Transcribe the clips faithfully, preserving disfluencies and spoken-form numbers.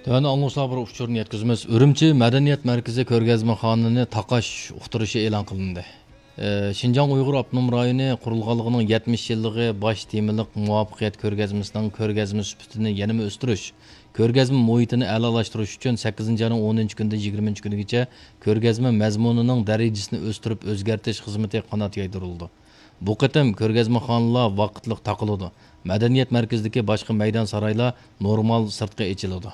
تۆۋەندە ئاڭلىغۇچىلارغا بىر ئۇچۇرنى يەتكۈزىمىز. ئۈرۈمچى مەدەنىيەت مەركىزى كۆرگەزمىخانىنى تاقاش ئۇقتۇرۇشى ئېلان قىلىندى. ئى، شىنجاڭ ئۇيغۇر ئاپتونوم رايونى قۇرۇلغانلىقىنىڭ يەتمىش يىللىقى باش تېمىلىق مۇۋەپپەقىيەت كۆرگەزمىسىنىڭ كۆرگەزمە سۈپىتىنى يەنىمۇ ئۆستۈرۈش، كۆرگەزمە مۇھىتىنى ئەلالاشتۇرۇش ئۈچۈن سەككىزىنچى ئاينىڭ ئونىنچى كۈنىدىن يىگىرمىنچى كۈنىگىچە كۆرگەزمە مەزمۇنىنىڭ دەرىجىسىنى ئۆستۈرۈپ ئۆزگەرتىش خىزمىتى قانات يايدۇرۇلىدۇ. بۇ قېتىم كۆرگەزمىخانىلار ۋاقىتلىق تاقىلىدۇ. مەدەنىيەت مەركىزىدىكى باشقا مەيدان سارايلار نورمال سىرتقا ئېچىلىدۇ.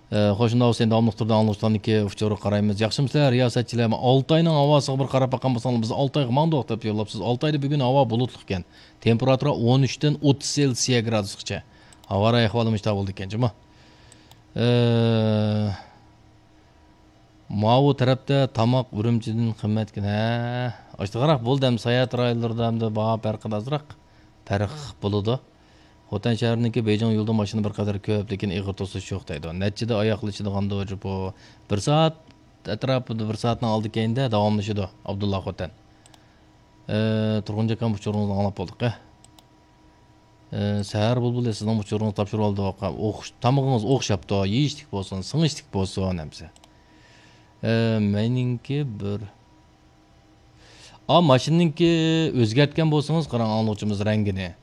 ئە، خوش، شۇنداق بولسا، ئەمدى داۋاملىق تۈردە ئاڭلىغۇچىلارنىڭكى ئۇچۇرىغا قارايمىز. ياخشىمۇسىلەر، رىياسەتچىلەر؟ ئالتاينىڭ ھاۋاسىغا بىر قاراپ باققان بولساڭلار، بىز ئالتايغا ماڭدۇق دەپ يوللاپسىز. ئالتايدا بۈگۈن ھاۋا بۇلۇتلۇق ئىكەن. تېمپېراتۇرا ئون ئۈچتىن ئوتتۇز سېلسىيە گرادۇسقىچە. ھاۋا رايى ئەھۋالى مۇشۇنداق بولىدىكەن جۇمۇ. ئە، ماۋۇ تەرەپتە تاماق ئۈرۈمچىدىن قىممەتكەن. ھە، ئاشتىغاراق بولدى ئەمدى ساياھەت رايونلىرىدا ئەمدى باھا پەرقىدە ئازراق پەرق بولىدۇ. خوتەن شەھىرىنىڭكى بېيجىڭ يولىدا ماشىنا بىر قەدەر كۆپ، لېكىن ئېغىر توسۇش يوق دەيدۇ. نەچچىدە ئاياقلىشىدىغاندۇ بۇ؟ بىر سائەت ئەتراپىدا، بىر سائەتنىڭ ئالدى كەينىدە داۋاملىشىدۇ. ئابدۇللا خوتەن. ئە، تۇرغۇن جاكام، ئۇچۇرىڭىزنى ئاڭلاپ بولدۇق، ئە. ئە، سەھەر بۇلبۇلى، سىزنىڭ ئۇچۇرىڭىزنى تاپشۇرۇۋالدۇق. ئوخش-، تامىقىڭىز ئوخشاپتۇ، يېيىشلىك بولسۇن، سىڭىشلىك بولسۇن، ھەمسە. ئە، مېنىڭكى بىر، ئا، ماشىنىنىڭكى ئۆزگەرتكەن بولسىڭىز، قاراڭ، ئاڭلىغۇچىمىز رەڭگىنى.